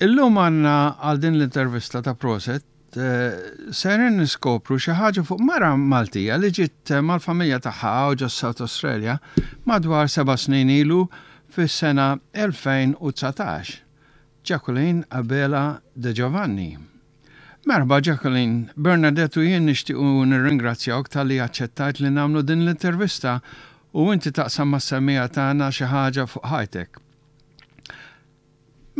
Illum għandna għal din l-intervista ta' Proset sejrin niskopru xi ħaġa fuq mara Maltija li ġiet mal-familja tagħha hawn ġo South Australia madwar seba' snin ilu fis-sena 2019, Jacqueline Abela De Giovanni. Merħba Jacqueline, Bernadette u jien nixtiequ nirringrazzjawk talli aċċettajt li nagħmlu din l-intervista u inti taqsam mas-semmiegħa tagħna xi ħaġa fuq ħajtek.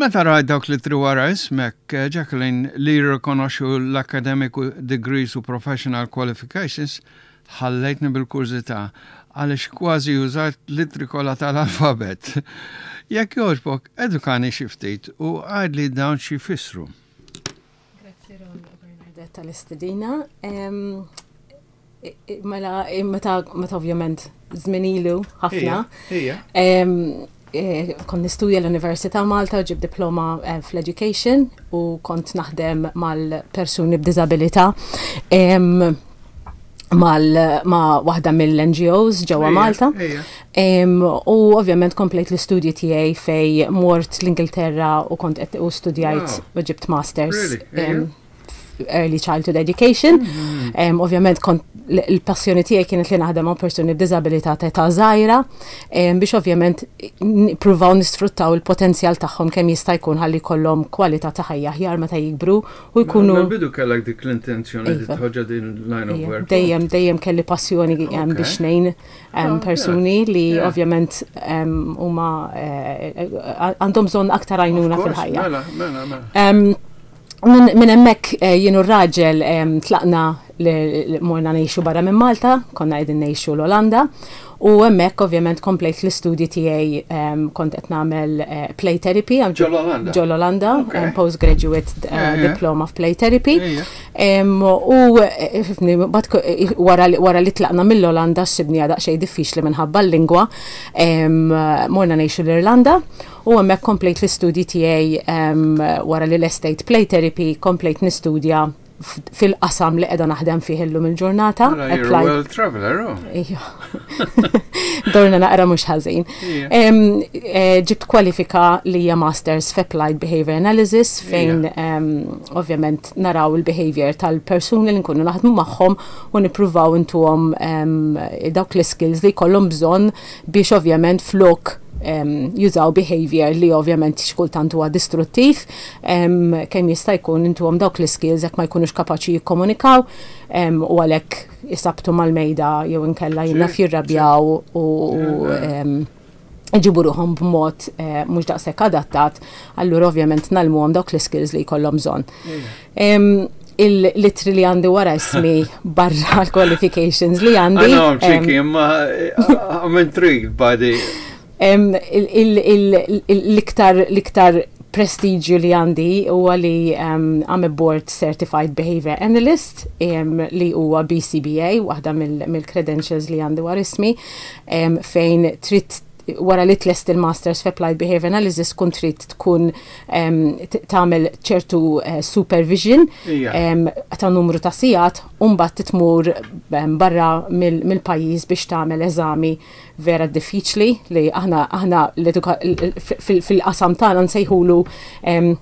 Meta rajt dawk l-ittri wara ismek, Jacqueline, li jirrikonoxxu l-academic degrees u professional qualifications, ħallejtni bil-kurżità għaliex kważi użajt l-ittri kollha tal-alfabett. Jekk jogħġbok, edukani xi ftit u għidli dawn xi jfissru. Grazzi Ron u Bernadette tal-istedina. Mela, meta meta ovvjament żmien ilu ħafna. Eh, kont nistudja l-Università Malta u ġib diploma eh, fl-education u kont naħdem mal-persuni b'diżabilità mal ma waħda mill-NGOs ġewwa Malta. U ovvjament komplejt l-istudji tiegħi fej mort l-Ingilterra u kont qed u studjajt u ġibt masters. Early Childhood Education. Mm-hmm. Um, ovvjament kont l-passjoni tiegħi kienet li naħdem ma' persuni b'diżabilità ta' età żgħira um, biex ovvjament nippruvaw nisfruttaw il-potenzjal tagħhom kemm jista' jkun ħalli jkollhom kwalità ta' ħajja aħjar meta jikbru u jkunu. Mela, bidu kellek dik l-intenzjoni li iva. tħoġġa din line of work. Dejjem dejjem kelli passjoni biex ngħin ah, persuni li ovvjament huma eh, eh, għandhom bżonn aktar għajnuna fil-ħajja. Mela, mela, mela. Minn hemmhekk eh, jien u r-raġel tlaqna li morna ngħixu barra minn Malta, konna qegħdin ngħixu l-Olanda, u hemmhekk ovvjament komplejt l-istudji tiegħi kont qed nagħmel eh, play therapy. Ġol-Olanda. Ġol-Olanda, postgraduate eh, diploma f'play therapy. U wara li tlaqna mill-Olanda sibni daqsxejn diffiċli minħabba l-lingwa, morna ngħixu l-Irlanda. U hemmhekk komplejt l-istudji tiegħi wara li lestejt play therapy, komplejt nistudja fil-qasam li qiegħda naħdem fih illum il-ġurnata. Mela, you're a world traveler, oh. Ejja. Dorna naqra mhux ħażin. Eh, ġibt kwalifika li hija Masters f'Applied Behavior Analysis fejn ovvjament naraw il-behavior tal-persuni li nkunu naħdmu magħhom u nippruvaw intuhom dawk l-skills li jkollhom bżonn biex ovvjament flok jużaw behavior li ovvjament xi kultant huwa distruttiv, kemm jista' jkun intuhom dawk l-iskills jekk ma jkunux kapaċi jikkomunikaw u għalhekk isabtu mal-mejda jew inkella jinnaf jirrabjaw u iġibu ruħhom b'mod eh, mhux daqshekk adattat, allura ovvjament nagħlmuhom dawk l-iskills li jkollhom bżonn. Il-litri li għandi wara ismi barra l-qualifications li għandi. I know I'm cheeky, imma eh, I'm intrigued by the... L-iktar l-iktar prestiġju li għandi huwa li um, I'm a board certified behavior analyst um, li huwa BCBA, waħda mill-credentials li għandi wara ismi, um, fejn trid wara li tlest il-Masters f'Applied Behavior Analysis kun trid tkun tagħmel ċertu eh, supervision ta' numru ta' sigħat u mbagħad titmur barra mill-pajjiż biex tagħmel eżami vera diffiċli li aħna aħna fil-qasam tagħna nsejħulu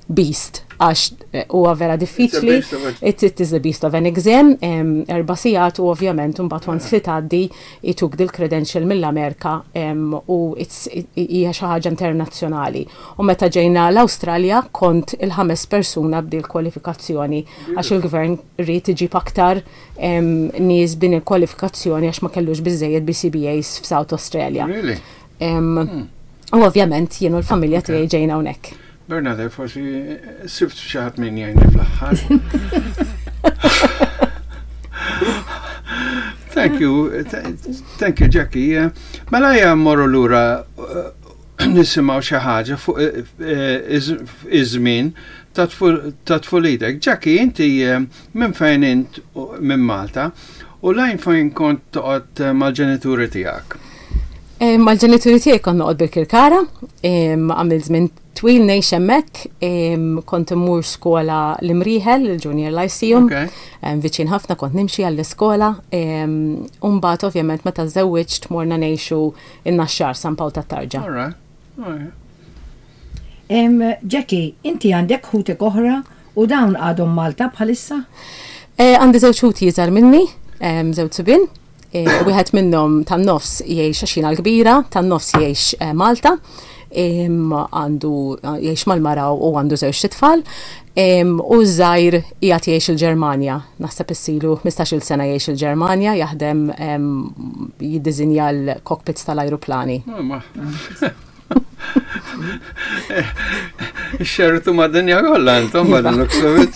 beast għax eh, huwa vera diffiċli. It, it is a beast of an exam, erba' sigħat u ovvjament mbagħad once li tgħaddi jtuk dil-credential mill-Amerika u hija xi ħaġa internazzjonali. U meta ġejna l-Awstralja kont il-ħames persuna b'dil kwalifikazzjoni għax il-gvern ried iġib aktar nies b'din il-kwalifikazzjoni għax ma kellux biżżejjed BCBAs f'South Australia. Really? Hmm. U ovvjament jien u l-familja tiegħi ġejna hawnhekk. Bernadette, forsi sibt xi ħadd min jgħinni fl-aħħar. Thank you, thank you Jackie. Mela ejja mmorru lura eh, nisimgħu xi ħaġa fuq eh, eh, iż-żmien ta' tfulitek. Jackie, inti minn fejn int minn Malta u lejn fejn kont toqgħod mal-ġenituri tiegħek? Mal-ġenituri tiegħi kont noqgħod bil-Kirkara, għamilt żmien twil ngħix hemmhekk, kont immur skola l-Imrieħel, il-Junior Lyceum, viċin ħafna kont nimxi għall-iskola, u mbagħad ovvjament meta żewwiġt morna ngħixu in-Naxxar San Pawl tat-Tarġa. Jackie, inti għandek ħutek oħra u dawn għadhom Malta bħalissa? Għandi żewġ ħuti iżgħar minni, żewġ subien. Wieħed minnhom tan-nofs jgħix għax jiena l-kbira, tan-nofs jgħix Malta, għandu jgħix mal-mara u għandu żewġ tfal. U ż-żgħir qiegħed jgħix il-Ġermanja. Naħseb issilu 15-il sena jgħix il-Ġermanja, jaħdem jiddiżinja l-cockpits tal-ajruplani. Xertu ma' dinja kollha intom ma' looks of it.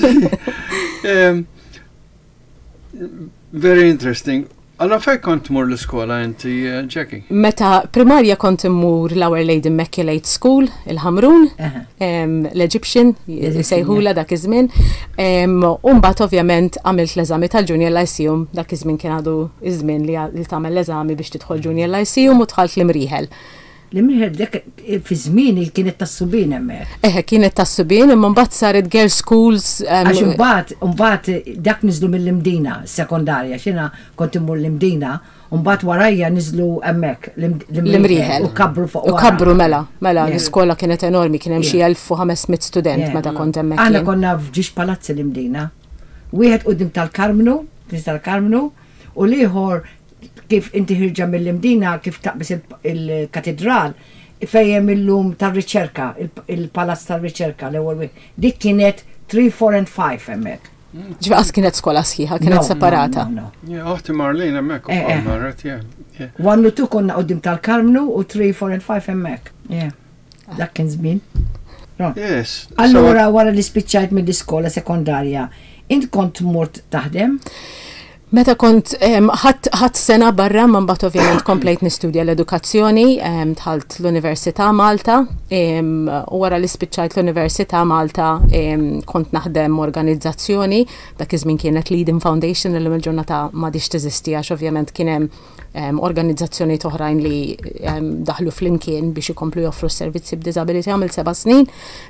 Very interesting. Allora fej kont tmur l-iskola inti, eh, Jackie? Meta primarja kont immur l-Our Lady Immaculate School, il-Ħamrun, l-Egyptian, sejħula dak iż-żmien. U mbagħad ovvjament għamilt l-eżami tal-Junior Lyceum, dak iż-żmien kien għadu iż-żmien li tagħmel l-eżami biex tidħol Junior Lyceum u dħalt l-Imrieħel. L-Imrieħel dak fi żmieni kienet tas-subien hemmhekk. Eħe, kienet tas-subien imma mbagħad saret girls schools. Għax imbagħad imbagħad dak niżlu mill-Imdina sekondarja, għax jiena kont immur l-Imdina, u mbagħad warajja niżlu hemmhekk l-Imrieħel. U kabbru fuq wara. U kabbru mela, mela l-iskola kienet enormi, kien hemm xi 1500 student meta kont hemmhekk. Aħna konna f'ġiex palazzi l-Imdina. Wieħed quddiem tal-Karmnu, Knisja tal-Karmnu, u l-ieħor kif inti ħirġa mill-Imdina kif taqbis il-katedral fejn hemm illum tar-riċerka, il-palazz tar-riċerka l-ewwel wieħed. Dik kienet 3, 4 and 5 hemmhekk. Ġifieri qas kienet skola sħiħa, kienet separata. Oħti Marlene hemmhekk ukoll marret, yeah. 1 u 2 konna quddiem tal-Karmnu u 3, 4 and 5 hemmhekk. Dak kien żmien. Yes. Allura wara li spiċċajt mill-iskola sekondarja, int kont mort taħdem? Meta kont ħadt sena barra ma mbagħad ovvjament komplejt nistudja l-edukazzjoni, dħalt l-Università Malta u wara li spiċċajt l-Università Malta kont naħdem organizzazzjoni, dak iż-żmien kienet l-Eden Foundation illum il-ġurnata m'għadhiex teżisti għax ovvjament kien hemm organizzazzjonijiet oħrajn li daħlu flimkien biex ikomplu joffru s-servizzi b'diżabilità. Għamilt seba' snin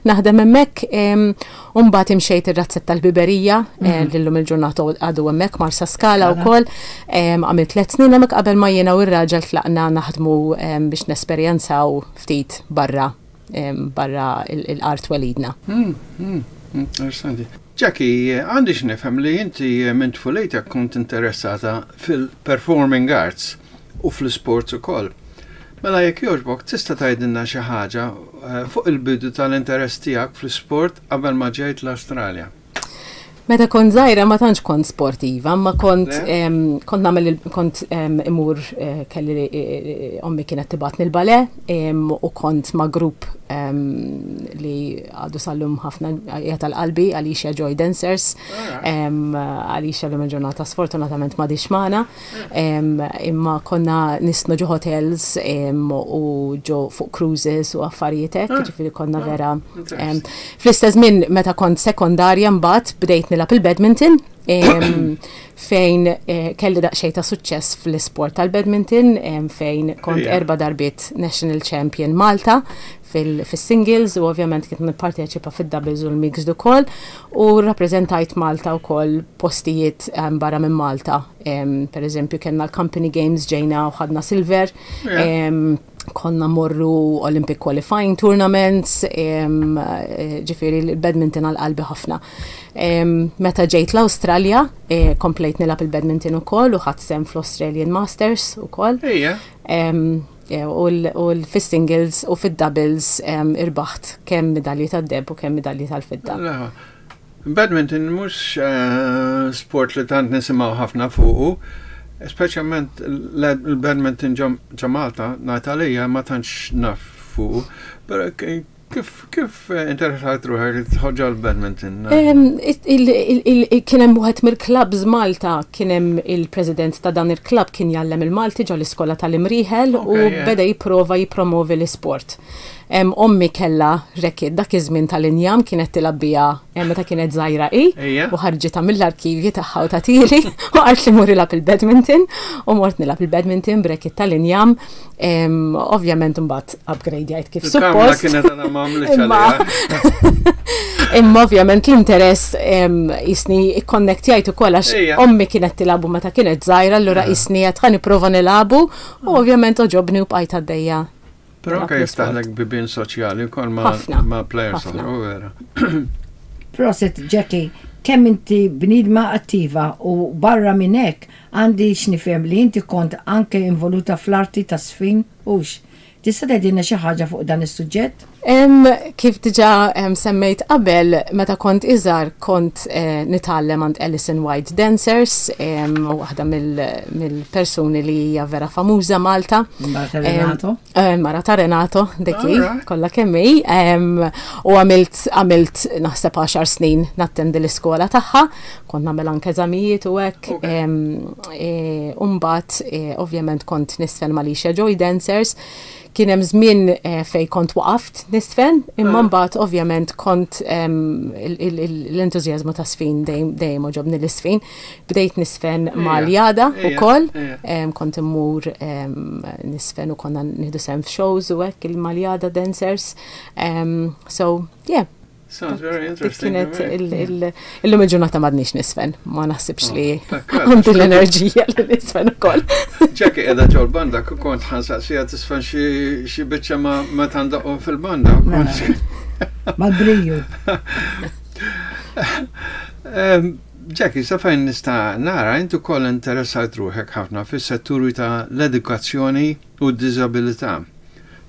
naħdem hemmhekk u mbagħad imxejt ir-razzett tal-Biberija mhm. li llum il-ġurnata għadu hemmhekk Marsa Skala wkoll. Għamilt tliet snin hemmhekk qabel ma jiena u r-raġel tlaqna naħdmu biex nesperjenzaw ftit barra barra l-art twelidna. Hmm, hmm, interessanti. Jackie, għandi x'nifhem li inti minn tfulejtek kont interessata fil-performing arts u fl-sports ukoll. Mela jekk jogħġbok tista' tgħidilna xi ħaġa eh, fuq il-bidu tal-interess tiegħek fl-isport qabel ma ġejt l-Awstralja. Meta kont żgħira ma tantx kont sportiva, ma kont kont nagħmel kont imur eh, kelli eh, ommi kienet tibgħatni l-bale u kont ma' grupp li għadu sallum ħafna hija tal-qalbi Alicia Joy Dancers. Alicia l-lum il-ġurnata sfortunatament ma magħna. Imma konna nisnu ġo hotels u ġo fuq cruises u affarijiet hekk, ah. ġifieri konna ah, vera. Fl-istess żmien meta kont sekondarja mbagħad bdejt nilgħab il-badminton fejn eh, kelli daqsxejn ta' suċċess fl-isport tal-badminton fejn kont erba' darbiet national champion Malta fil-singles u ovvjament kien nipparteċipa fid-doubles u l-mixed ukoll u rrappreżentajt Malta wkoll postijiet barra minn Malta. Per eżempju kellna l-Company Games ġejna u ħadna silver. Konna morru Olympic Qualifying Tournaments, eh, ġifieri l-badminton għal qalbi ħafna. Meta ġejt l-Awstralja, eh, komplejt nilgħab il-badminton ukoll u ħadt sehem fl-Australian Masters ukoll. Eh, u fis-singles u fid-doubles irbaħt kemm medalji tad-deb u kemm medalji tal-fidda. Badminton mhux eh, sport li tant nisimgħu ħafna fuqu, speċjalment l-badminton ġo Malta, ngħid għalija ma tantx naf fuqu. Però kif kif interessat ruħek li tħoġġa l-badminton? Kien hemm wieħed mill-clubs Malta, kien hemm il-president ta' dan il-club kien jgħallem il-Malti ġo l-iskola tal-Imrieħel u beda jipprova jippromovi l-isport. Ommi kellha racket dak iż-żmien tal-injam kienet tilgħab biha meta kienet żgħira hi u ħarġitha mill-arkivji tagħha u tagħtili u qaltli mur ilgħab il-badminton u mort nilgħab il-badminton b'racket tal-injam. Ovvjament imbagħad upgradejajt kif suppost. kienet għadha ma għamlitx għaliha. Imma ovvjament l-interess jisni ikkonnektjajt ukoll għax ommi kienet tilagħbu meta kienet żgħira allura jisni qed ħa nipprova nilagħbu u ovvjament għoġobni u bqajt għaddejja. Però anke jiftaħlek bibien soċjali wkoll ma' players oħra, vera. Proset Jackie, kemm inti bniedma attiva u barra minn hekk għandi x'nifhem li inti kont anke involuta fl-arti taż-żfin, hux? Tista' tgħidilna xi ħaġa fuq dan is-suġġett? Kif diġà semmejt qabel, meta kont iżgħar kont eh, nitgħallem għand Alison White Dancers, waħda mill-persuni li hija vera famuża Malta. Mara ta' Renato. Eh, mara ta' Renato, dik kollha kemm hi. U għamilt għamilt naħseb 10 snin nattendi l-iskola tagħha, kont nagħmel anke eżamijiet u hekk. E, u mbagħad e, ovvjament kont nisfen ma' Alicia Joy Dancers. Kien hemm żmien e, fej kont waqaft nisfen, imma ah. mbagħad ovvjament kont l-entużjażmu ta' sfin dejjem oġobni l-isfin. Bdejt nisfen mal-jada ukoll, kont immur nisfen u konna nieħdu sem f'shows u hekk il-maljada dancers. So, yeah, Sounds very interesting. Kienet illum il-ġurnata madnix nisfen, ma naħsibx li oh, għandi l-enerġija li nisfen ukoll. Ġeki qiegħda ġol banda kont ħansaqsija tisfen xi biċċa ma tandaqhom fil-banda. Mela. Mal-briju. Jackie, sa fejn nista' nara inti wkoll interessat ruħek ħafna fis-setturi ta' l-edukazzjoni u d-diżabilità.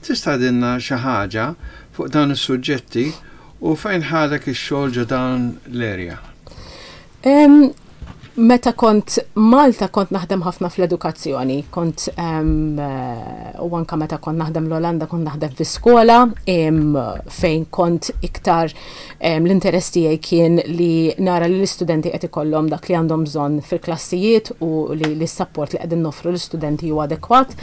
Tista' tgħidilna xi ħaġa fuq dawn is-suġġetti u fejn ħadek ix-xogħol ġo dawn l-area? Meta kont Malta kont naħdem ħafna fl-edukazzjoni, kont u anka meta kont naħdem l-Olanda kont naħdem fi skola fejn kont iktar l-interess tiegħi kien li nara li l-istudenti qed ikollhom dak li għandhom bżonn fil-klassijiet u li l-support li qegħdin noffru l-istudenti huwa adekwat.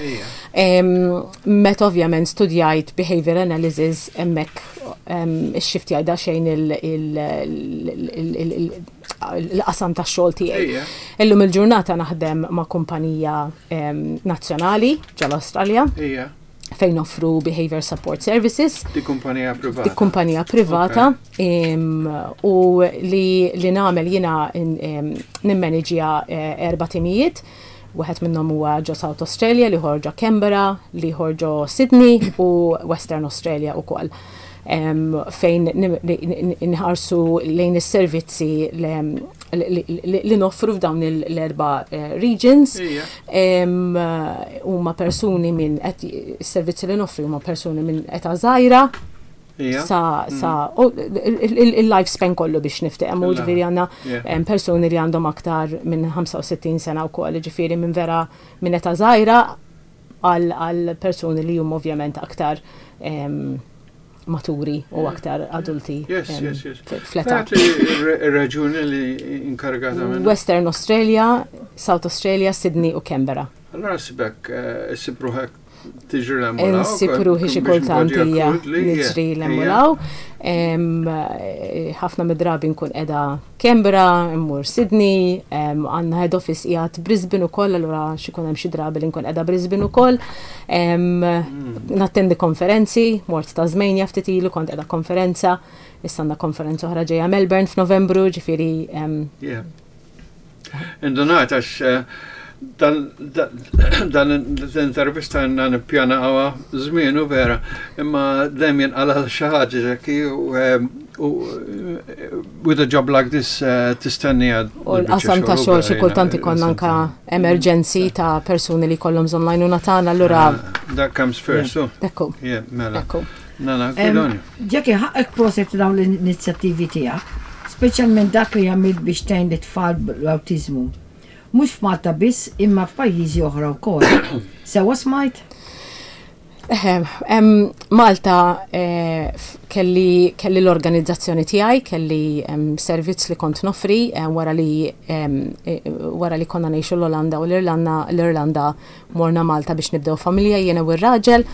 Meta ovvjament studjajt behavior analysis hemmhekk ix-shift jgħidha xejn il-qasam tax-xogħol tiegħi. Illum il-ġurnata naħdem ma' kumpanija nazzjonali ġol-Awstralja. Fejn offru Behavior Support Services. Di kumpanija privata. Di kumpanija privata. U li, li nagħmel jiena nimmanagja eh, erba' timijiet. Wieħed minnhom huwa ġo South Australia, l-ieħor ġo Canberra, l-ieħor ġo Sydney u Western Australia ukoll. Fejn nħarsu lejn is-servizzi li noffru f'dawn l-erba' eh, regions. Huma persuni minn is-servizzi li noffru huma persuni minn età żgħira Sa, sa, il-lifespan kollu biex niftiqem, u ġifiri għanna personi li għandhom aktar minn 65 sena u koll, ġifiri minn vera minn età żgħira għal personi li huma ovvjament aktar maturi u aktar adulti. Yes, yes, yes. Fl-età. Ir-reġjuni li inkarigata minn. Western Australia, South Australia, Sydney u Canberra. Allora sibek, eh, issib ruħek tiġri l-emmulaw. Insib ruħi xi kultant hija niġri l-emmulaw. Eh, ħafna mid-drabi nkun qiegħda Canberra, immur Sydney, għandna head office qiegħed Brisbane ukoll, allura xi jkun hemm xi drabi li nkun qiegħda Brisbane ukoll. Mm. Nattendi konferenzi, mort Tasmania ftit ilu kont qiegħda konferenza, issa għandna konferenza oħra ġejja Melbourne f'Novembru, ġifieri Indunajt għax eh, dan l-intervista għanna nippjana għawa żmien u vera, imma dejjem jinqala xi ħaġa ġekki u eh, with a job like this eh, tistenni għad. U l-qasam ta' xogħol xi kultant ikollna anka emerġenzi ta' persuni li jkollhom bżonn l-għajnuna tagħna allura. That comes first, so. Ekku. Mela. Ekku. Nana, kudoni. Jackie, ħaqqek proset dawn l-inizjattivi tiegħek, speċjalment dak li għamilt biex tgħin lit-tfal bl-awtiżmu. Mhux f'Malta biss imma f'pajjiżi oħra wkoll. Sewwa smajt? Eħe, Malta eh, kelli, kelli l-organizzazzjoni tiegħi, kelli servizz li kont noffri eh, wara li eh, wara li konna ngħixu l-Olanda u l-Irlanda, l-Irlanda Morna Malta biex nibdew familja jiena u r-raġel.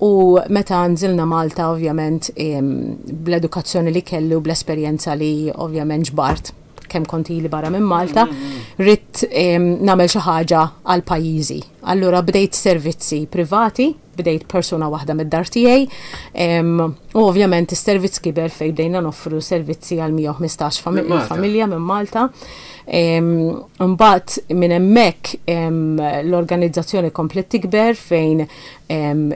U meta nżilna Malta ovvjament bl-edukazzjoni li kelli u bl-esperjenza li ovvjament ġbart kemm kont ili barra minn Malta, ridt nagħmel xi ħaġa għal pajjiżi. Allura bdejt servizzi privati, bdejt persuna waħda mid-dar tiegħi, u ovvjament is-servizz kiber fejn bdejna noffru servizzi għal 115 familja minn Malta. Imbagħad minn hemmhekk l-organizzazzjoni komplet tikber fejn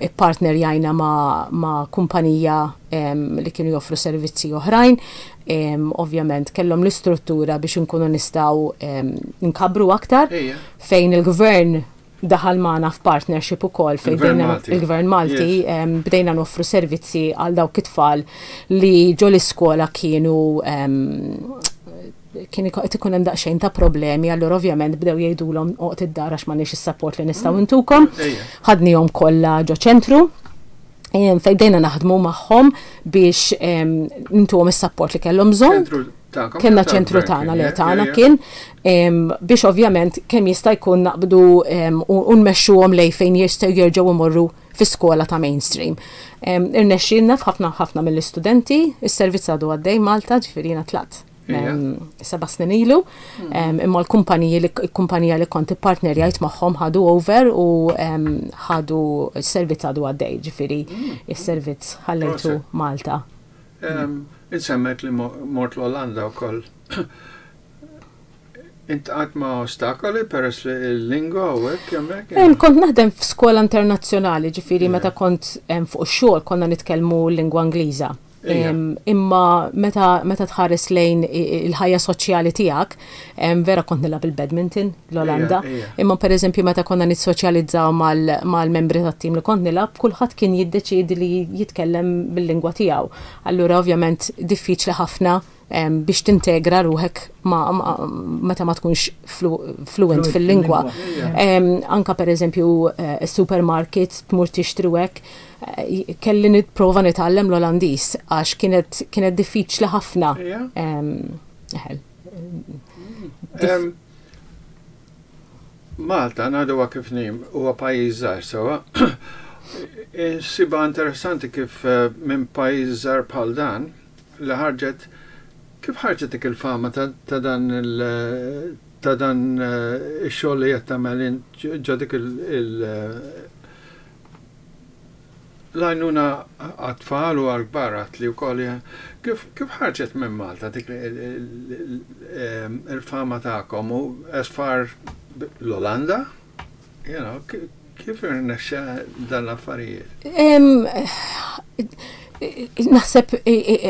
ippartnerjajna ma' kumpanija li kienu joffru servizzi oħrajn. Ovvjament kellhom l-istruttura biex inkunu nistgħu nkabbru aktar fejn il-gvern daħal magħna f'partnership ukoll fejn il-Gvern Malti bdejna noffru servizzi għal dawk it-tfal li ġo l-iskola kienu kien qed ikun hemm daqsxejn ta' problemi, allura ovvjament bdew jgħidulhom oqgħod id-dar għax m'għandniex is-support li nistgħu ntukom. Ħadnihom kollha ġo ċentru fejn bdejna naħdmu magħhom biex ntuhom is-support li kellhom bżonn. Kellna ċentru tagħna li tagħna kien biex ovvjament kemm jista' jkun naqbdu u nmexxuhom lejn fejn jistgħu jerġgħu imorru fi skola ta' mainstream. Irnexxielna f'ħafna ħafna mill-istudenti, is-servizz għadu għaddej Malta, ġifieri jiena tlaqt 7 snin ilu, imma l-kumpaniji li kumpanija li kont ippartnerjajt magħhom ħadu over u ħadu s-servizz għadu għaddej, ġifieri is-servizz ħallejtu Malta. Insemmejt li mort l-Olanda wkoll. Iltqajt ma' ostakoli peress li l-lingwa u hekk hemmhekk? Kont naħdem f'skola internazzjonali, ġifieri meta kont fuq ix-xogħol konna nitkellmu l-lingwa Ingliża. Imma meta tħares lejn il-ħajja soċjali tiegħek, vera kont nilgħab il-badminton l-Olanda. Imma pereżempju meta konna nissoċjalizzaw mal-membri tat-tim li kont nilgħab, kulħadd kien jiddeċiedi li jitkellem bil-lingwa tiegħu. Allura ovvjament diffiċli ħafna biex tintegra ruħek meta ma tkunx fluent fil-lingwa. Anka per eżempju supermarket tmur tixtri hekk, kelli nipprova nitgħallem l-Olandiż għax kienet diffiċli ħafna. Eħel. Malta, ngħiduha kif inhi, huwa pajjiż żgħir sewwa. Insibha interessanti kif minn pajjiż żgħir bħal dan li ħarġet kif ħarġet dik il-fama ta' dan il ta' dan ix-xogħol li qed tagħmel int ġo dik il l-għajnuna għat-tfal u għall-kbar għat li wkoll kif kif ħarġet minn Malta dik il-fama tagħkom u as far l-Olanda, you know, kif irnexxa dan l-affarijiet? Naħseb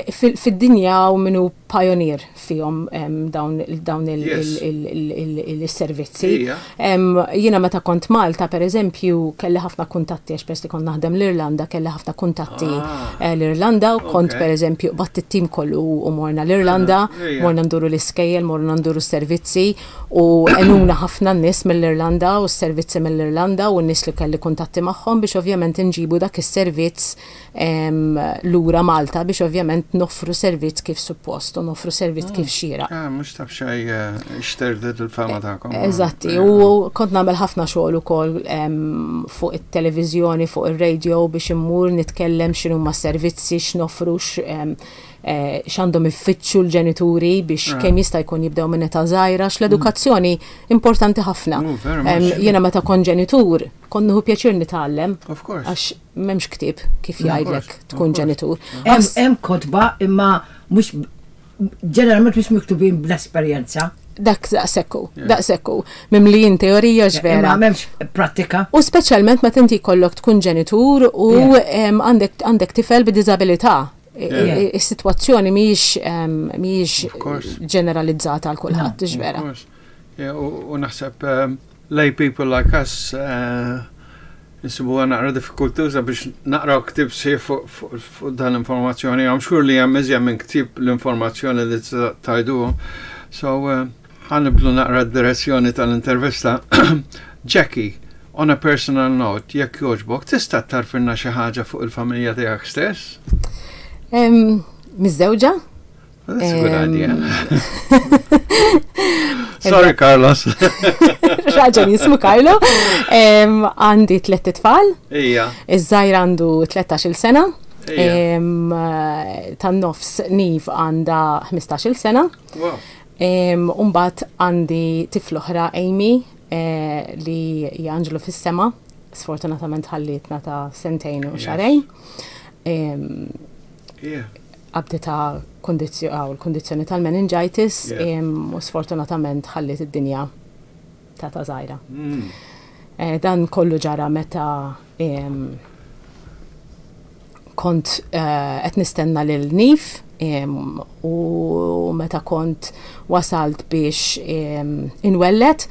fid-dinja u minu pioneer fihom dawn il-servizzi. Jiena meta kont Malta, per eżempju, kelli ħafna kuntatti, għax peress li kont naħdem l-Irlanda, kelli ħafna kuntatti l-Irlanda, u kont per eżempju qbadt it-tim kollu u morna l-Irlanda, morna nduru l-iskejjel, morna nduru s-servizzi, u għenuna ħafna n-nies mill-Irlanda u s-servizzi mill-Irlanda u n-nies li kelli kuntatti magħhom biex ovvjament inġibu dak is-servizz lura Malta biex ovvjament noffru servizz kif suppost u noffru servizz kif xieraq. Ah, mhux taf xej xterdet il-fama tagħkom. Eżatti, u kont nagħmel ħafna xogħol ukoll fuq it-televiżjoni, fuq ir-radio biex immur nitkellem x'inhuma s-servizzi, x'noffru, x'għandhom ifittxu l-ġenituri biex kemm jista' jkun jibdew minn età żgħira, x'l-edukazzjoni importanti ħafna. Jiena meta kont ġenitur, kont nieħu pjaċir nitgħallem. Għax m'hemmx ktieb kif jgħidlek tkun ġenitur. Hemm kotba imma mhux ġeneralment mhux miktubin bl-esperjenza. Dak daqsekku, daqsekku. Mimlijin teorija x'vera. Imma m'hemmx prattika. U speċjalment meta inti jkollok tkun ġenitur u għandek tifel b'diżabilità. Is-sitwazzjoni mhijiex ġeneralizzata għal kulħadd, vera. U naħseb lay people like us insibuha naqra diffikultuża biex naqraw ktieb sħiħ fuq dan l-informazzjoni. I'm sure li hemm iżjed minn ktieb l-informazzjoni li tajduhom. So, ħa nibdlu naqra d-direzzjoni tal-intervista. Jackie, on a personal note, jekk jogħġbok, tista' tgħarrfilna xi ħaġa fuq il-familja tiegħek stess? Miżżewġa? That's a good idea. Sorry, Carlos. Raġel jismu Carlo. Għandi tlett itfal. Ija. Iż-żgħir għandu 13-il sena. Tan-nofs Niv għandha 15-il sena. Wow. Umbagħad għandi tifla oħra Amy. li hija anġlu fis-sema, sfortunatament ħallietna ta' sentejn u xahrejn. Qabditha l-kundizzjoni tal-meningitis u sfortunatament ħalliet id-dinja ta' ta' żgħira. Dan kollu ġara meta kont qed nistenna lil Nif u meta kont wasalt biex inwelled,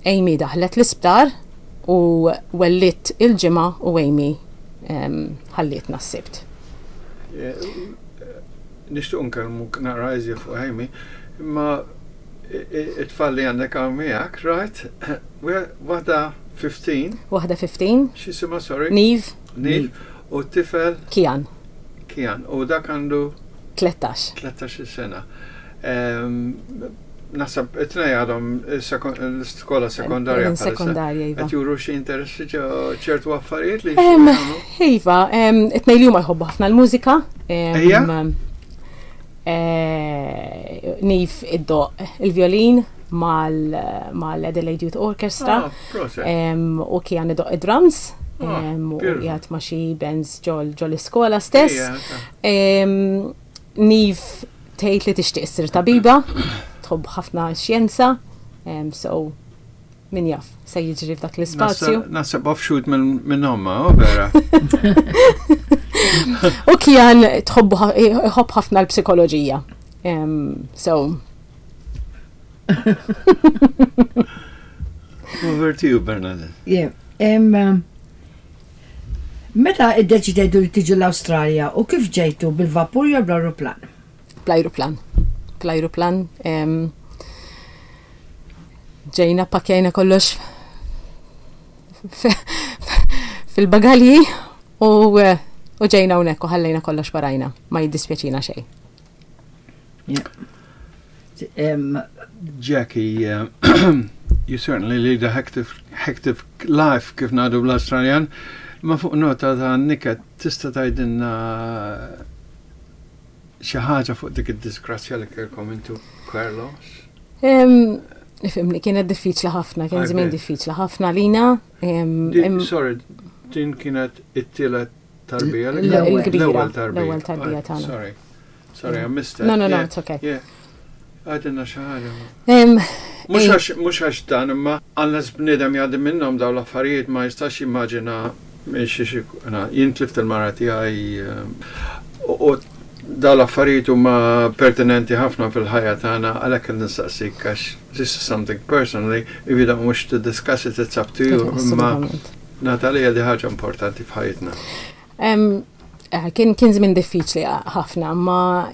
Amy daħlet l-isptar u wellidt il-Ġimgħa u Amy ħallietna s-Sibt. Nixtieq nkellmuk naqra iżjed fuq Amy, imma it-tfal li għandek hawn miegħek, right? Waħda 15. Waħda 15. X'jisimha, sorry? Niv. Niv. U t-tifel? Kian. Kian. U dak għandu? 13. 13 sena. Naħseb it-tnej għadhom l-iskola sekondarja. Sekondarja, iva. Qed juru xi interessi ċertu affarijiet li Iva, it-tnej li huma jħobbu ħafna l-mużika. Ejja. Niv iddoq il-violin mal-Adelaide Youth Orchestra. Ah, u Kian idoq id-drums. Ah, u qiegħed ma' xi bands ġol l-iskola stess. Niv tgħid li tixtieq issir tabiba, tħobb ħafna x-xjenza, so min jaf se jiġri f'dak l-ispazju. Naħseb offshoot minn omma, oh vera. U Kian tħobbu jħobb ħafna l-psikoloġija. So. Over to you, Bernadette. Yeah. Um, meta iddeċidejtu li tiġu l-Awstralja u kif ġejtu bil-vapur jew bl-ajruplan? Bl-ajruplan. Bl-ajruplan. Ġejna pakjajna kollox fil-bagalji u u ġejna hawnhekk u ħallejna kollox warajna. Ma jiddispjaċina xejn. Jackie, uh, you certainly lead a hectic, hectic life kif ngħidu bl-Australjan. Ma fuq nota ta' niket tista' tgħidilna xi ħaġa fuq dik id-disgrazzja li kellkom intu Carlos? Ifimni, kienet diffiċli ħafna, kien żmien diffiċli ħafna lina. Sorry, din kienet it-tielet tarbija? L-ewwel tarbija. L-ewwel tarbija tagħna. Sorry. Sorry, I missed that. No, no, no, it's okay. Yeah. Għadinna xi ħaġa. Mhux għax dan imma unless bniedem jgħaddi minnhom dawn l-affarijiet ma jistax jimmaġina jien tlift il-mara tiegħi u dawn l-affarijiet huma pertinenti ħafna fil-ħajja tagħna għalhekk qed nistaqsik għax this is something personally if you don't wish to discuss it it's up to you imma Natalia di ħaġa importanti f'ħajjitna. Eh, kien kien żmien diffiċli ħafna, ma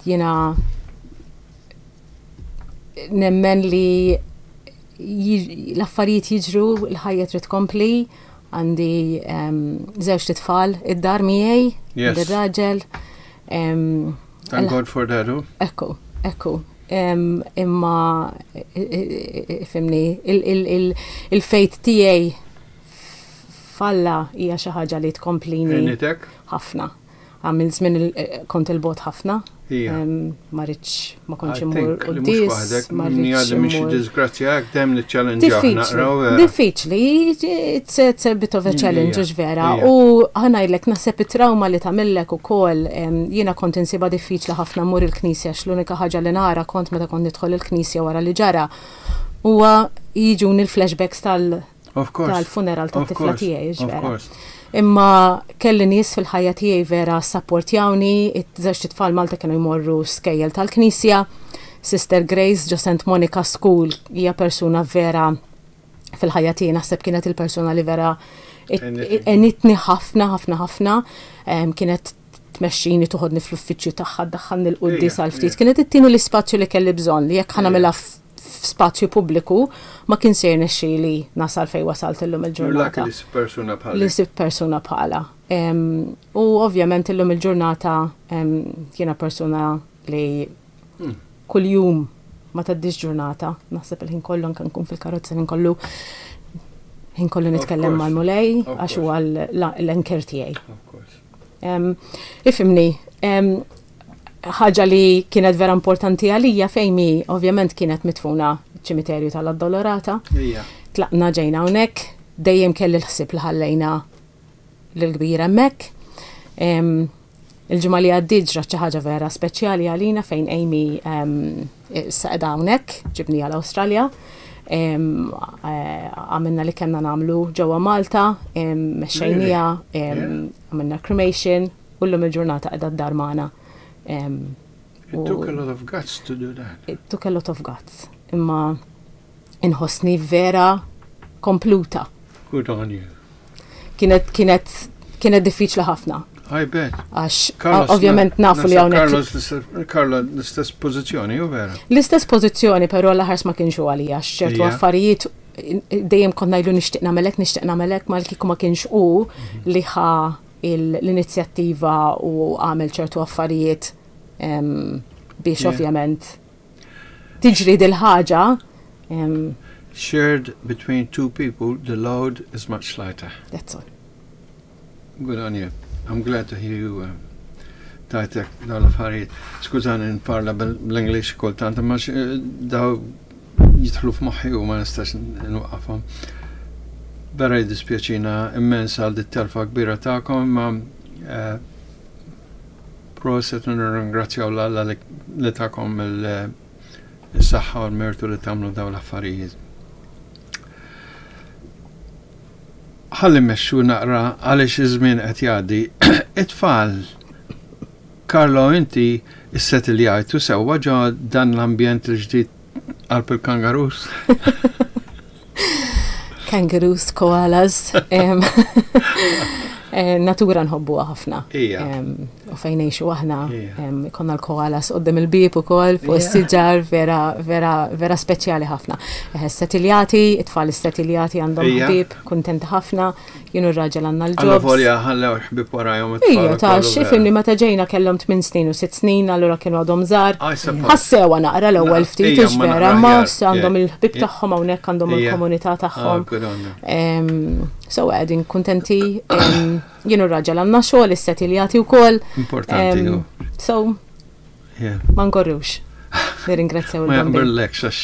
jiena nemmen li l-affarijiet jiġru, l-ħajja trid tkompli, għandi żewġ titfal id-dar miegħi, ir-raġel. Thank God for that. Oh. Ekku, ekku. Imma fimni, il-fejt tiegħi f'Alla hija xi ħaġa li tkomplini ħafna. Għamil żmien kont il-bogħod ħafna. Ma rridx ma kontx immur quddies. Ma rridx immur. Disgrazzja hekk dejjem niċċellenġjaw naqraw. Diffiċli, it's a bit of a challenge hux vera. U ħa ngħidlek naħseb it-trawma li tagħmillek ukoll jiena kont insibha diffiċli ħafna mmur il-knisja għax l-unika ħaġa li nara kont meta kont nidħol il-knisja wara li ġara huwa jiġuni l-flashbacks tal- tal-funeral tat-tifla tiegħi, vera. Imma kelli nies fil-ħajja tiegħi vera sapportjawni, iż-żewġ tfal Malta kienu jmorru skejjel tal-Knisja. Sister Grace ġo St. Monica School hija persuna vera fil-ħajja tiegħi naħseb kienet il-persuna li vera enitni ħafna ħafna ħafna. Kienet tmexxini toħodni fl-uffiċċju tagħha ddaħħalni l-quddies għal ftit. Kienet ittini l-ispazju li kelli bżonn li jekk ħa nagħmilha f'spazju pubbliku ma kien se jirnexxili nasal fejn wasalt illum il-ġurnata. Li sib persuna bħala. Li sib persuna bħala. U ovvjament illum il-ġurnata jiena persuna li hmm. kuljum ma taddix ġurnata, naħseb il-ħin kollu anke nkun fil-karozza ħin kollu ħin kollu nitkellem mal-mulej għax huwa l-anker tiegħi. Ifimni, Ħaġa li kienet vera importanti għalija fejmi, ovvjament kienet mitfuna ċimiterju tal-Addolorata. Tlaqna ġejna hawnhekk, dejjem kelli l-ħsieb li ħallejna l-kbir hemmhekk. Il-ġimgħa li għaddiet ġrat xi ħaġa vera speċjali għalina fejn Amy issa qiegħda hawnhekk, ġibniha l-Awstralja. Għamilna li kellna nagħmlu ġewwa Malta, mexxejniha, għamilna cremation u llum il-ġurnata qiegħda d-dar magħna. It took a lot of guts to do that. It took a lot of guts. Imma inħossni vera kompluta. Good on you. Kienet kienet kienet diffiċli ħafna. I bet. Għax ovvjament nafu li hawnhekk. Carlos, Carlo l-istess pożizzjoni, u vera? L-istess pożizzjoni, però l-aħars ma kienx għalija, ċertu affarijiet dejjem kont ngħidlu nixtieq nagħmelek, nixtieq nagħmelek, ma kieku ma kienx hu li ħa l-inizjattiva u għamel ċertu affarijiet biex ovvjament tiġri dil-ħaġa. Shared between two people, the load is much lighter. That's all. Good on you. I'm glad to hear you uh, tajtek daw l-affarijiet. Skużani nparla bl-English kultant, imma eh, daw jidħlu f'moħħi u ma nistax nwaqqafhom. Vera jiddispjaċina immens għal dit-telfa kbira tagħkom, imma eh, proset u nirringrazzjaw l-Alla li takom il-saħħa u l-mertu li tagħmlu daw l-affarijiet. Ħalli mmexxu naqra għaliex iż-żmien qed jgħaddi. It-tfal, Carlo inti issettiljajtu sewwa ġo dan l-ambjent il-ġdid qalb il-kangaroos? Kangaroos, koalas. Eh, natura nħobbuha ħafna. U fejn ngħixu aħna, konna l-koalas qudiem il-bieb ukoll fuq is-siġar vera vera vera speċjali ħafna. Eh, Setiljati, it-tfal istetiljati għandhom ħbieb, kuntenti ħafna, jien u r-raġel għandna l-ġob. Alla volja ħallew ħbieb warajhom it-tfal. Ija, ta' xifimni meta ġejna kellhom 8 snin u 6 snin, allura kienu għadhom żgħar. Ħassewa naqra l-ewwel ftit vera, ma għandhom il-ħbieb tagħhom hawnhekk għandhom il-komunità ah, tagħhom. So qegħdin kuntenti jien u raġel għandna xogħol issetiljati wkoll. Importanti. So ma nkorrux. Nirringrazzjaw il Ma jaqbillekx għax.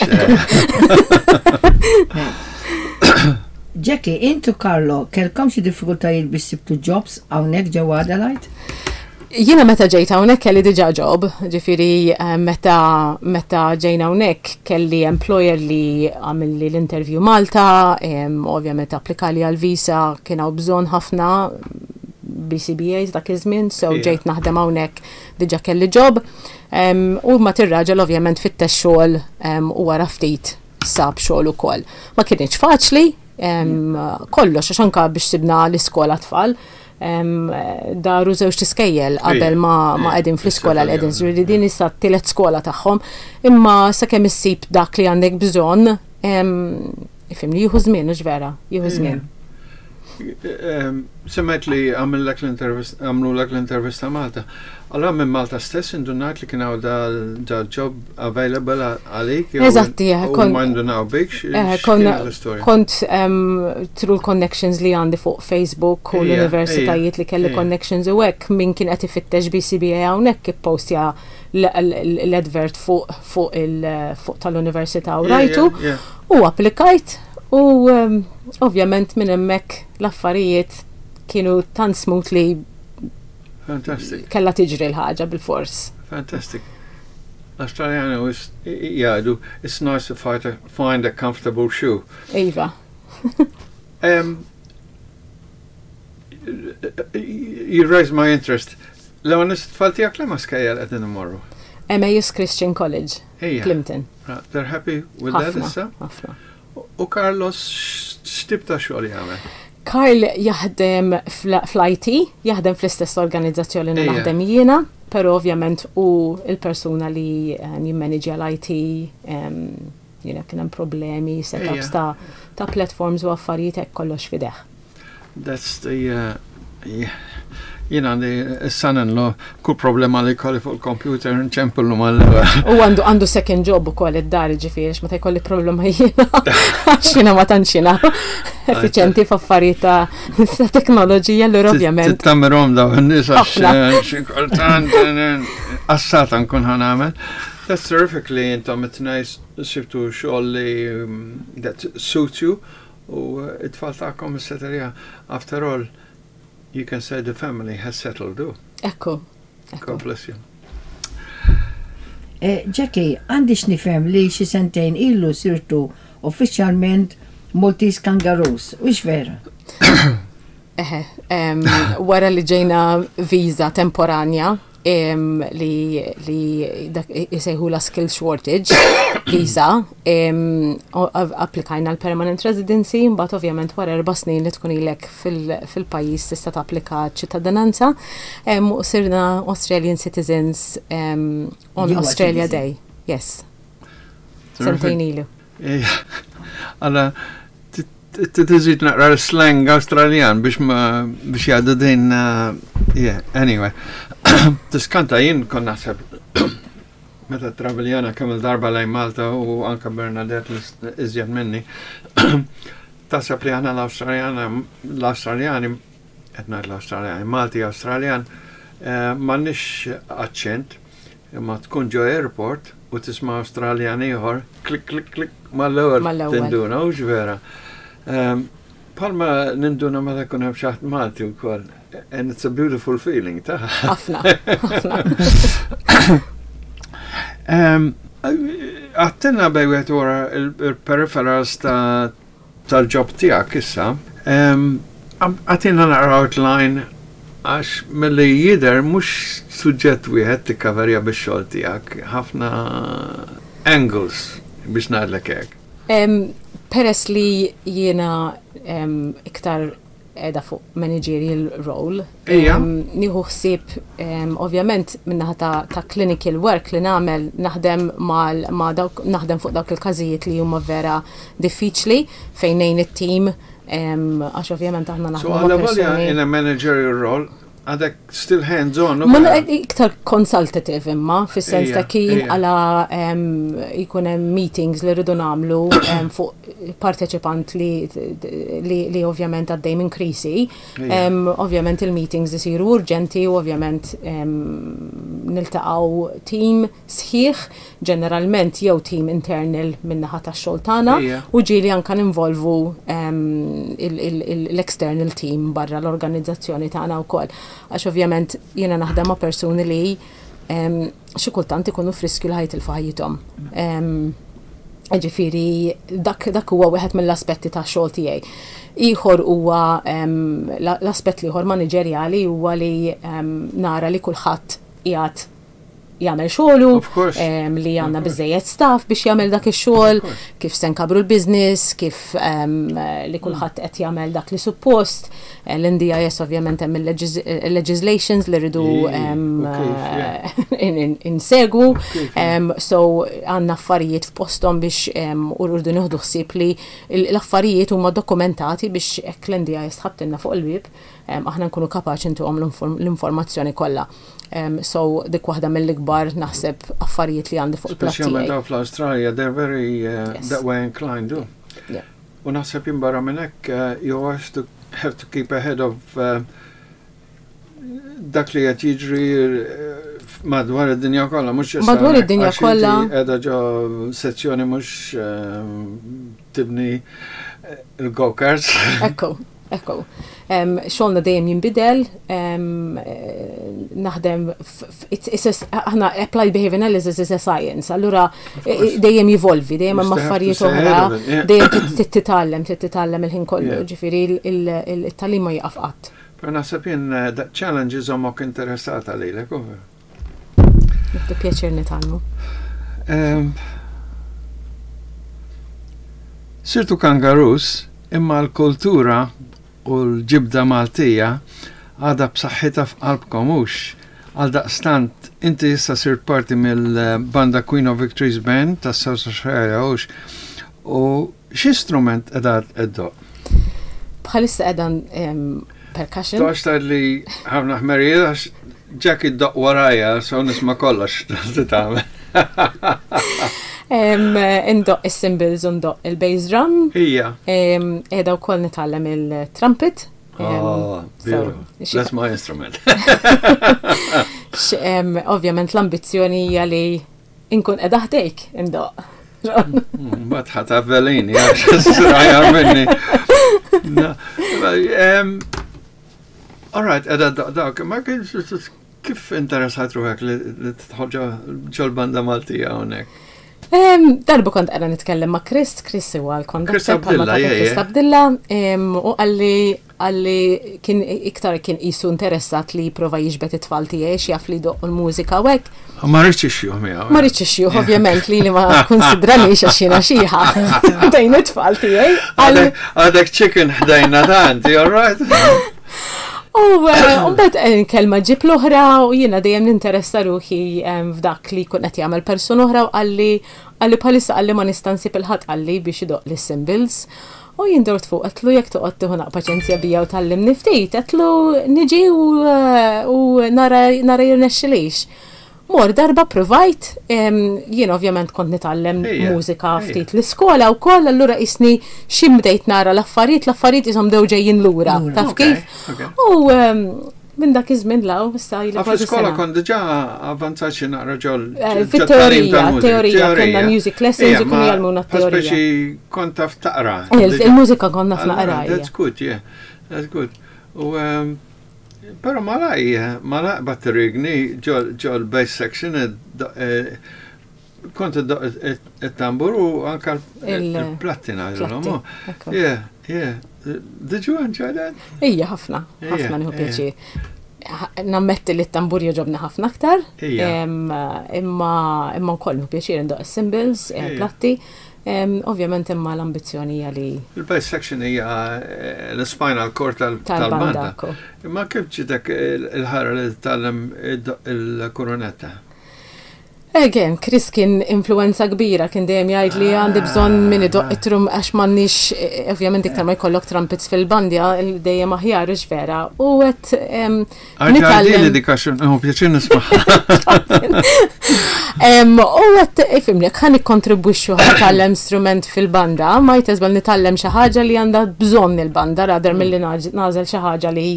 Eh. Jackie, intu Carlo, kelkom xi diffikultajiet biex sibtu jobs hawnhekk ġewwa Adelaide? Jiena meta ġejt hawnhekk kelli diġà job, ġifieri eh, meta meta ġejna hawnhekk kelli employer li għamilli l-interview Malta, ovvjament applikali għal visa kien hawn bżonn ħafna BCBAs dak iż-żmien, so ġejt naħdem hawnhekk diġà kelli job. U ma tir-raġel ovvjament fittex xogħol u wara ftit sab xogħol ukoll. Ma kienx faċli, kollox għax anka biex sibna l-iskola tfal daru żewġ tiskejjel qabel ma qegħdin fl-iskola li qegħdin ġifieri din issa t-tielet skola tagħhom. Imma sakemm issib dak li għandek bżonn, ifhimni, jieħu żmien, hux vera, jieħu żmien. Semmejt li għamillek l-intervista, għamlulek l-intervista Malta. Allora minn Malta stess indunajt li kien hawn dal-job available għalik? Eżatti, eh, kont. Ma indunaw bik, eh, Kont through connections li għandi fuq Facebook u l-universitajiet li kelli connections u hekk min kien qed ifittex BCBA hawnhekk ippostja l-advert fuq fuq tal-università u rajtu u applikajt u ovvjament minn hemmhekk l-affarijiet kienu tant smooth li Fantastic. Kella tiġri l-ħaġa bil-fors. Fantastic. L-Australjani jgħidu, it's nice to find a, find a comfortable shoe. Iva. um, you raise my interest. L-għon tfal tijak li ma skajjel għedin imorru? Emmaus Christian College, Plimpton. They're happy with that issa? Ħafna. U Carlos x'tip ta' xogħol jagħmel? Karl jaħdem fl-IT, jaħdem fl-istess organizzazzjoni li naħdem jiena, però ovvjament hu l-persuna li jimmaniġja l-IT, jiena kien hemm problemi, setups ta' ta' platforms u affarijiet hekk kollox f'idejh. That's the uh, yeah. Jien għandi s-son-in-law, kull problema li jkolli fuq il-computer nċempillu mal-ewwel. U għandu għandu second job ukoll id-dar ġifieri meta jkolli problema jiena. Għax jiena ma tantx jiena effiċjenti f'affarijiet ta' teknoloġija allura ovvjament. Tittammirhom dawn in-nies għax xi kultant assata nkun ħa nagħmel. That's terrific li intom it-tnejn sibtu xogħol li that suits you u it-tfal tagħkom is-seterja after all you can say the family has settled do. Ekku. God bless you. Eh, Jackie, għandi x'nifhem li xi sentejn ilu sirtu uffiċjalment Maltese Kangaroos, u vera? Eħe, wara li ġejna viża temporanja li li dak isejħula skill shortage visa, applikajna l-permanent residency, mbagħad ovvjament wara 4 snin li tkun ilek fil-pajjiż tista' tapplika ċittadinanza, u sirna Australian citizens on You are Australia citizen. Day. Yes. Sentejn ilu. Għala, tiżid naqra l-slang Australjan biex ma biex jgħaddu din, yeah, anyway. Tiskanta jien kon naħseb meta traveljana kemm il-darba lejn Malta u anka Bernadette iżjed minni. Taħseb li aħna l-Awstraljana, l-Awstraljani, qed ngħid l-Awstraljani, Malti Awstraljan, m'għandniex aċċent, imma tkun ġo airport u tisma' Awstraljan ieħor, klik klik klik mal-ewwel Mal-ewwel. tinduna, hux vera. Palma ninduna meta jkun hemm xi ħadd Malti wkoll. And it's a beautiful feeling, ta' Ħafna, ħafna. Għattilna bejn wieħed wara il-peripherals tal-job tiegħek issa. Għatina naqra outline għax milli jidher mhux suġġett wieħed tikkaverja bix-xogħol tiegħek, ħafna angles biex ngħidlek hekk. Peress li jiena iktar edha fuq managerial role. Nieħu ħsieb ovvjament minnaħa ta' clinical work li nagħmel naħdem mal ma' dawk naħdem fuq dawk il-każijiet li huma vera diffiċli fejn ngħin it-team għax ovvjament aħna So naħdmu ma' għalla volja persuni in a managerial role, għadek still hands on. Ma iktar consultative imma, fis-sens ta' kien għala jkun hemm meetings li rridu nagħmlu fuq parteċipant li ovvjament għaddej minn krisi. Ovvjament il-meetings isiru urġenti u ovvjament niltaqgħu team sħiħ, ġeneralment jew team internal min-naħa tax-xogħol tagħna u ġieli anka ninvolvu l-external team barra l-organizzazzjoni tagħna wkoll. Għax ovvjament jiena naħdem ma' persuni li xi kultant ikunu f'riskju li ħa jitilfu ħajjithom. Ġifieri dak huwa wieħed mill-aspetti ta' xogħol tiegħi. Ieħor huwa l-aspett l-ieħor maniġerjali huwa li nara li kulħadd qiegħed jagħmel xogħlu, Of course. li għandna biżejjed staff biex jagħmel dak ix-xogħol, kif se nkabru l-business, kif li kulħadd qed jagħmel dak li suppost. L-NDIS ovvjament hemm il-legislations li rridu U kif, yeah. insegwu. Kif, yeah. So għandna affarijiet f'posthom biex u rridu nieħdu ħsieb li l-affarijiet huma dokumentati biex hekk l-NDIS tħabtilna fuq il-bieb, aħna nkunu kapaċi ntuhom l-informazzjoni kollha. So dik waħda mill-ikbar naħseb affarijiet li għandi fuq il-platt Speċjalment tiegħi. daw fl-Australia, they're very that way inclined, do. U naħseb jien barra minn hekk, you always to have to keep ahead of dak li qed jiġri madwar id-dinja kollha, mhux issa Madwar id-dinja għax inti kollha. qiegħda ġo sezzjoni mhux tibni il-go-karts. Ekku, ekku. Xogħolna dejjem jinbidel, naħdem aħna applied behavior analysis is a science, allura Of course. dejjem jivolvi, dejjem hemm You still have to affarijiet stay ahead oħra, of it, yeah. dejjem titgħallem, titgħallem il-ħin kollu, ġifieri il-tagħlim ma jieqaf qatt. Però naħseb jien that challenge iżommok interessata lilek, u Nieħdu pjaċir nitgħallmu. Sirtu kangaroos, imma l-kultura u l-ġibda Maltija għadha b'saħħitha f'qalbkom hux. Għal daqstant, inti issa sirt parti mill-banda Queen of Victories Band ta' South Australia hux. U xi strument qiegħda iddoqq? Bħalissa qiegħda percussion. Toqgħodx tgħid li ħafna ħmerijiet għax Jackie ddoqq warajja, so nisma' kollox li tagħmel. Indoqq is-cymbals u ndoqq il-bass drum. Ija. Qiegħda wkoll nitgħallem il-trumpet. Oh, beautiful. That's my instrument. Ovvjament l-ambizzjoni hija li inkun qiegħda ħdejk indoqq. Mbagħad ħadd avvelini għax sraja minni. All right, qiegħda dawk, ma kif interessat ruħek li tidħol ġol-banda Maltija hawnhekk? Darba kont qiegħda nitkellem ma' Chris, Chris huwa l-konduktor Chris Chris Abdilla, u qalli qalli kien iktar kien qisu interessat li jipprova jiġbed it-tfal tiegħi għax jaf li jdoqqu l-mużika u hekk. Ma rridx ixjuh miegħu. Ma rridx ixjuh, ovvjament li li ma konsidranix għax jiena xiħa ħdejn it-tfal tiegħi. Għadek chicken ħdejna tant, all right? U eh, mbagħad eh, kelma ġib l-oħra u jiena dejjem ninteressa ruħi eh, f'dak li jkun qed jagħmel persuna oħra u qalli qalli bħalissa qalli ma nista' nsib il-ħadd qalli biex idoqq lis cymbals. U jien dort fuq għedtlu jekk toqgħod tieħu naq paċenzja bija u tgħallimni ftit, għedtlu niġi u, u nara nara jirnexxilix. Mor darba provajt, jien ovvjament kont nitgħallem mużika ftit l-iskola wkoll, allura qisni xi bdejt nara l-affarijiet, l-affarijiet qishom bdew ġejjin lura, taf kif? U minn dak iż-żmien 'l hawn issa ili kważi sena. Fl-iskola kont diġà avvanzat xi naqra ġol. Fit-teorija, teorija kellna music lessons u kienu jgħallmuna t-teorija. Speċi kont taf taqra. Il-mużika kont naf naqra. That's good, yeah. That's good. U Pero malaj, malaj bat rigni ġol bass section kont it-tambur u anka il-platti ngħidulhom. Yeah, yeah. Did you enjoy that? Ija, ħafna, ħafna nieħu pjaċir. Nammetti li t-tambur jogħġobni ħafna aktar. Imma imma wkoll nieħu pjaċir indoq is-cymbals, platti. Ovvjament imma l-ambizzjoni hija li. Il-bass section hija l-spinal cord tal-banda. Imma kif ġitek il-ħara li titgħallem il-kurunetta? Again, Chris kien influenza kbira, kien dejjem jgħid li għandi bżonn min idoqq it-trum għax m'għandniex, ovvjament iktar ma jkollok trumpets fil-bandja, dejjem aħjar hux vera. U qed nitgħallem. dik għax nieħu pjaċir nismagħha. U qed ifhimni, jekk ħa nikkontribwixxu ħa nitgħallem strument fil-banda, might as well nitgħallem xi ħaġa li għandha bżonn il-banda rather milli nagħżel xi ħaġa li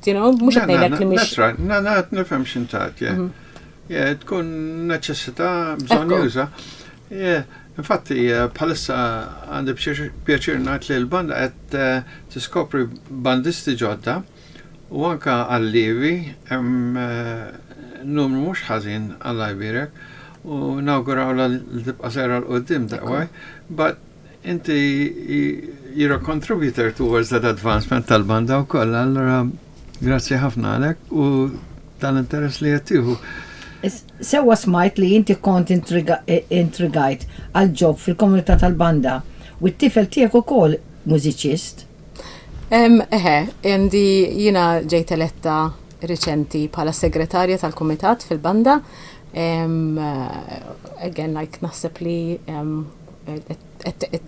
you know, mhux qed ngħidlek li mhix. That's right, na na nifhem x'intat, yeah. Mhm. Yeah, tkun neċessità bżonn juża. Yeah, infatti eh, bħalissa għandi pjaċir ngħid li l-banda qed eh, tiskopri bandisti ġodda u anka allievi hemm eh, numru mhux ħażin Alla jbierek u nawguraw li tibqa' sejra 'l quddiem that way. But Inti you're a contributor towards that advancement tal-banda wkoll, allura grazzi ħafna għalek u tal-interess li qed tieħu. Sewwa smajt li inti kont intrigajt għal job fil-komunità tal-banda u t-tifel tiegħek ukoll mużiċist. Eħe, għandi jiena ġejt eletta riċenti bħala segretarja tal-kumitat fil-banda. Again, like naħseb li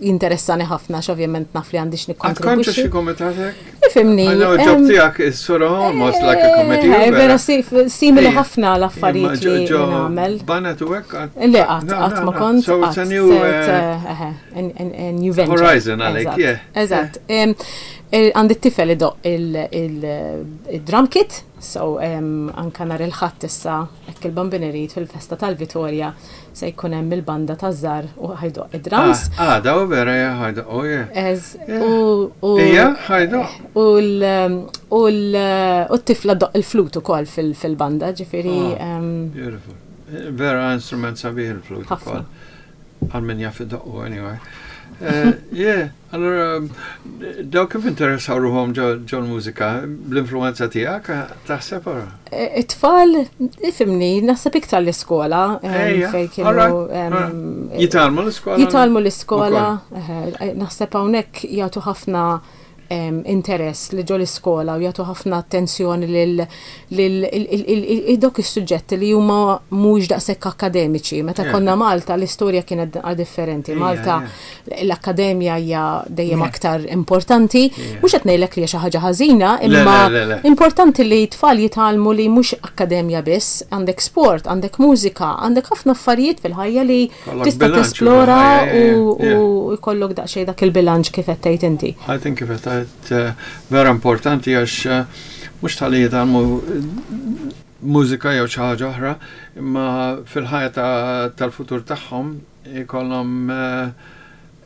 jinteressani ħafna għax ovvjament naf li għandi x'nikkontribwixxi. Għad xi komitat hekk? Ifhimni. I know job tiegħek is sort of almost like a committee. Eh, vera simili ħafna l-affarijiet li nagħmel. Banet u hekk? Le qatt qatt ma kont. So it's a new eh, eh, new venture. Horizon għalik, yeah. Eżatt. Għandi t-tifel idoqq il-drum kit, so anka nhar il-Ħadd issa hekk il-Bambin irid fil-festa tal-Vitorja Se jkun hemm il-banda taż-żgħar u ħa jdoqq id-drums. Ah, għada u vera ja ħa jdoqq, oh yeah. Ez, u. Ija, ħa jdoqq. U t-tifla doqq il-flut ukoll fil-banda, ġifieri. Ah, beautiful. Vera instrument sabiħ il-flut ukoll. Għal min jaf idoqqu anyway. Eh, yeah. Allura, daw kif interessaw ruħhom ġol-mużika, bl-influenza tiegħek, taħseb ora? E, it-tfal, ifimni, naħseb iktar l-iskola. Fejn kienu. Jitgħallmu l-iskola? Jitgħallmu l-iskola. Naħseb hawnhekk jagħtu ħafna interess li ġo l-iskola u jagħtu ħafna attenzjoni lil lil dawk is-suġġetti li huma mhux daqshekk akkademiċi. Meta konna Malta l-istorja kienet differenti. Malta l-akkademja hija dejjem aktar importanti. Mhux qed ngħidlek li hija xi ħaġa ħażina, imma importanti li tfal jitgħallmu li mhux akkademja biss, għandek sport, għandek mużika, għandek ħafna affarijiet fil-ħajja li tista' tesplora u jkollok daqsxejn dak il-bilanċ kif qed tgħid inti. I think kif qed tgħid eh, vera importanti għax eh, mhux tal-li jitgħallmu eh, mużika jew xi ħaġa oħra, imma fil-ħajja tal-futur tagħhom ikollhom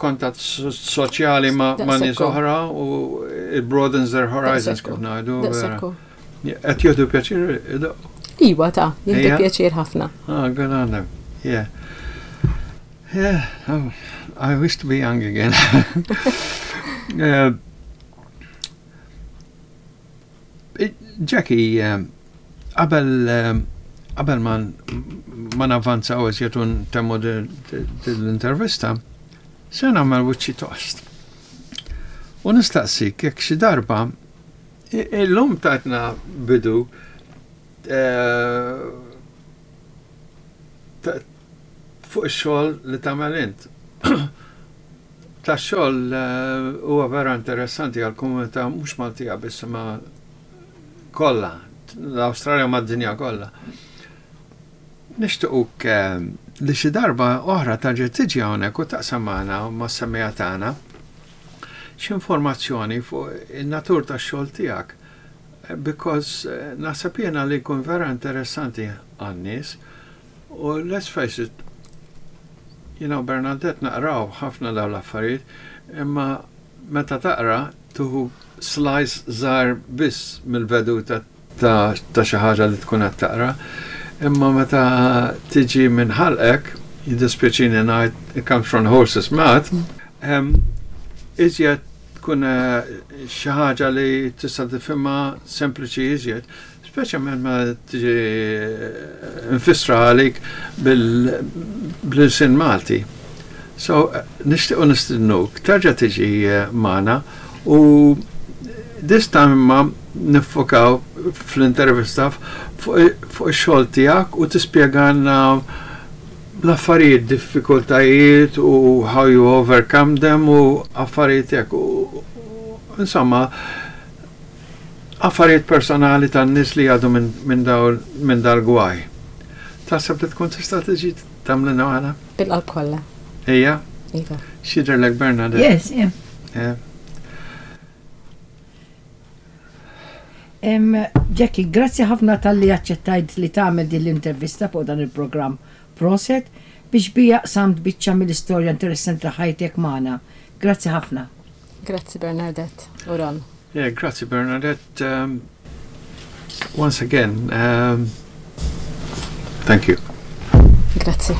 kontatt soċjali ma' nies oħra u it broadens their horizons kif ngħidu. Qed jieħdu pjaċir idoqqu? Iwa ta' jieħdu pjaċir ħafna. Ah, good on them. Yeah. Yeah, oh, I wish to be young again. uh, Jackie, eh, qabel eh, qabel ma ma navvanzaw iżjed u ntemmu l-intervista, se nagħmel wiċċi tost. U nistaqsik jekk xi darba Illum tajtna bidu eh, fuq ix-xogħol li tagħmel int. Ta' xogħol eh, huwa vera interessanti għal komunità mhux Maltija biss ma kollha, l-Awstralja mad-dinja kollha. Nixtiequk eh, li xi darba oħra tarġa' tiġi hawnhekk u taqsam magħna u mas-semmiegħa tagħna x'informazzjoni fuq in-natur tax-xogħol tiegħek because eh, naħseb jiena li jkun vera interessanti għan-nies u let's face it, you know, Bernadette naqraw ħafna dawn l-affarijiet, imma meta taqra tuħu slice żgħar biss mill-veduta ta' xi ħaġa li tkun qed taqra, imma meta tiġi minn ħalqek, jiddispjaċini ngħid it comes from horse's mouth, iżjed tkun eh, xi ħaġa li tista' tifhimha sempliċi iżjed, speċjalment ma tiġi eh, nfissra għalik bil-sin Malti. So, eh, nixtiequ nistidnuk, terġa' tiġi magħna u this time imma niffokaw fl-intervista fuq ix-xogħol tiegħek u tispjegalna l-affarijiet, diffikultajiet u how you overcome them u affarijiet hekk. Insomma, affarijiet personali tan-nies li għadu minn dal-gwaj. Taħseb li tkun tista' tiġi tagħmlilna waħda? Bil-qalb kollha. Ejja? Iva. X'jidhirlek Bernadette? Yes, yeah. Yeah. Jackie, grazzi ħafna talli aċċettajt li tagħmel din l-intervista fuq dan il-programm Proset biex bija qsamt biċċa mill-istorja interessanti ta' ħajtek magħna. Grazzi ħafna. Grazzi Bernadette u Ron. Yeah, grazzi Bernadette. Um, once again, um, thank you. Grazzi.